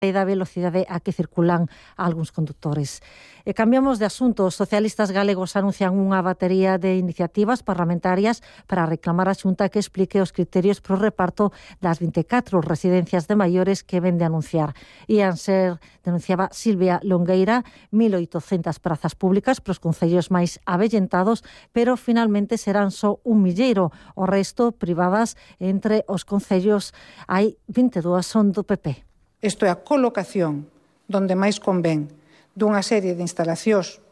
e da velocidade a que circulan algúns condutores. E cambiamos de asunto. Os socialistas galegos anuncian unha batería de iniciativas parlamentarias para reclamar a Xunta que explique os criterios para o reparto das 24 residencias de maiores que ven de anunciar. Ian ser, denunciaba Silvia Longueira, 1.800 prazas públicas para os concellos máis avellentados, pero finalmente serán só un milleiro. O resto privadas entre os concellos hai 22 son do PP. Isto é a colocación donde máis convén dunha serie de instalacións,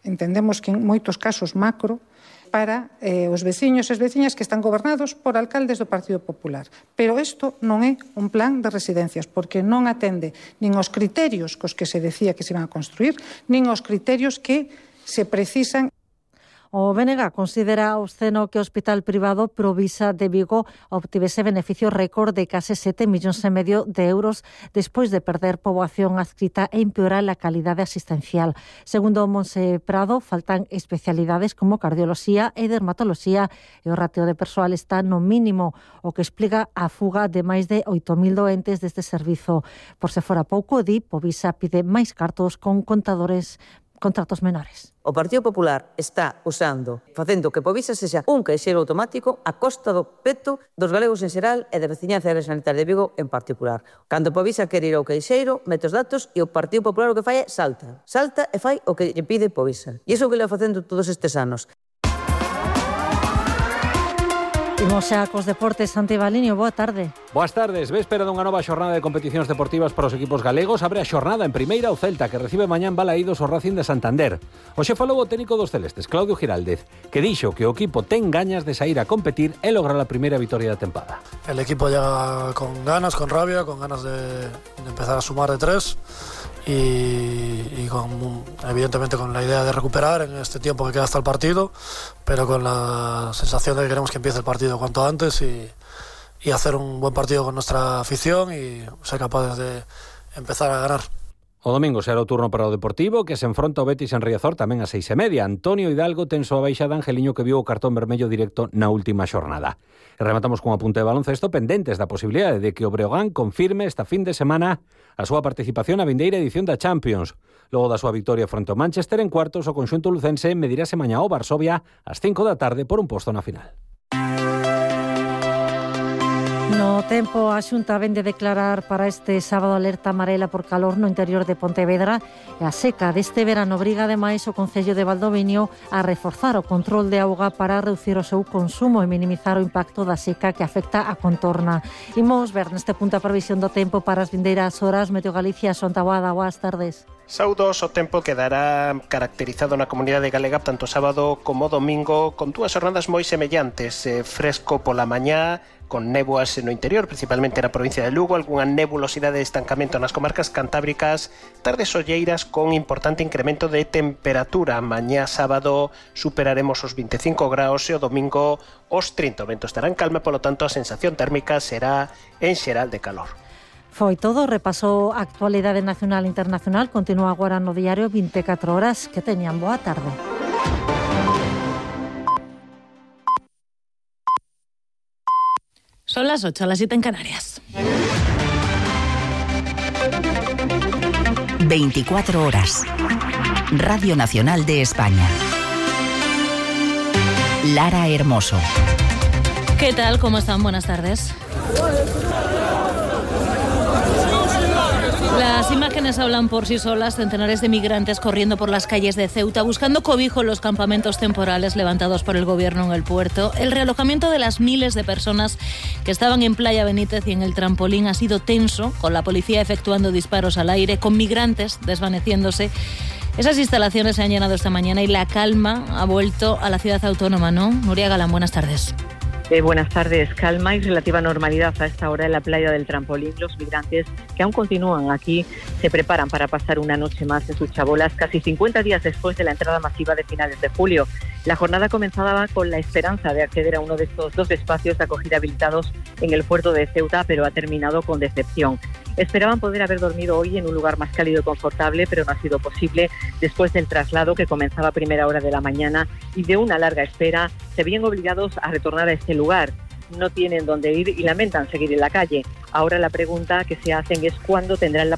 entendemos que en moitos casos macro, para os veciños e as veciñas que están gobernados por alcaldes do Partido Popular. Pero isto non é un plan de residencias, porque non atende nin os criterios cos que se decía que se iban a construir, nin os criterios que se precisan. O BNG considera obsceno que o Hospital Privado Provisa de Vigo obtivese beneficio récord de case 7,5 millóns de euros despois de perder poboación adscrita e empeorar a calidade asistencial. Segundo Monse Prado, faltan especialidades como cardioloxía e dermatoloxía e o rateo de persoal está no mínimo, o que explica a fuga de máis de 8.000 doentes deste servizo. Por se fora pouco, Povisa pide máis cartos con contratos menores. O Partido Popular está facendo que Povisa sexa un caixeiro automático a costa do peto dos galegos en xeral e da veciñanza da área sanitaria de Vigo en particular. Cando Povisa quere ir ao caixeiro, mete os datos e o Partido Popular o que fai é salta e fai o que lle pide Povisa. E iso que le va facendo todos estes anos. Imos xa cos deportes. Santi Baliño, boa tarde. Boas tardes. Véspera dunha nova xornada de competicións deportivas para os equipos galegos. Abre a xornada en primeira o Celta, que recibe mañá en Balaídos o Racing de Santander. Hoxe falou o técnico dos celestes, Claudio Giraldez, que dixo que o equipo ten gañas de sair a competir e lograr a primeira vitoria da tempada. El equipo llega con ganas, con rabia, con ganas de empezar a sumar de 3 y evidentemente con la idea de recuperar en este tiempo que queda hasta el partido, pero con la sensación de que queremos que empiece el partido cuanto antes y hacer un buen partido con nuestra afición y ser capaces de empezar a ganar. O domingo será o turno para o Deportivo, que se enfronta ao Betis en Riazor tamén ás 6:30. Antonio Hidalgo ten súa baixada Angeliño, que viu o cartón vermello directo na última xornada. E rematamos con un apunte de baloncesto pendentes da posibilidade de que o Breogán confirme esta fin de semana a súa participación na vindeira edición da Champions. Logo da súa victoria fronte ao Manchester en cuartos, o conxunto lucense medirase mañá ao Varsovia ás 5 da tarde por un posto na final. No tempo, a Xunta vén de declarar para este sábado alerta amarela por calor no interior de Pontevedra e a seca deste verano obriga ademais o Concello de Valdoviño a reforzar o control de auga para reducir o seu consumo e minimizar o impacto da seca que afecta a contorna. Imos ver neste punto a previsión do tempo para as vindeiras horas. Meteo Galicia, Sonta Boada, boas tardes. Saudos, o tempo quedará caracterizado na comunidade galega tanto sábado como domingo con dúas jornadas moi semellantes, fresco pola mañá, con néboas no interior, principalmente na provincia de Lugo, algunha nebulosidade de estancamento nas comarcas cantábricas, tardes olleiras con importante incremento de temperatura. Mañá sábado superaremos os 25 graus e o domingo os 30. O vento estará en calma, polo tanto a sensación térmica será en xeral de calor. Foi todo, repasou a actualidade nacional e internacional, continúa agora no diario 24 horas. Que teñan boa tarde. Son las 8, las 7 en Canarias. 24 horas. Radio Nacional de España. Lara Hermoso. ¿Qué tal? ¿Cómo están? Buenas tardes. Las imágenes hablan por sí solas, centenares de migrantes corriendo por las calles de Ceuta, buscando cobijo en los campamentos temporales levantados por el gobierno en el puerto. El realojamiento de las miles de personas que estaban en Playa Benítez y en el trampolín ha sido tenso, con la policía efectuando disparos al aire, con migrantes desvaneciéndose. Esas instalaciones se han llenado esta mañana y la calma ha vuelto a la ciudad autónoma, ¿no? Nuria Galán, buenas tardes. Buenas tardes. Calma y relativa normalidad a esta hora en la playa del Trampolín. Los migrantes que aún continúan aquí se preparan para pasar una noche más en sus chabolas, casi 50 días después de la entrada masiva de finales de julio. La jornada comenzaba con la esperanza de acceder a uno de estos dos espacios de acogida habilitados en el puerto de Ceuta, pero ha terminado con decepción. Esperaban poder haber dormido hoy en un lugar más cálido y confortable, pero no ha sido posible. Después del traslado, que comenzaba a primera hora de la mañana, y de una larga espera, se ven obligados a retornar a este lugar. No tienen dónde ir y lamentan seguir en la calle. Ahora la pregunta que se hacen es cuándo tendrán la posibilidad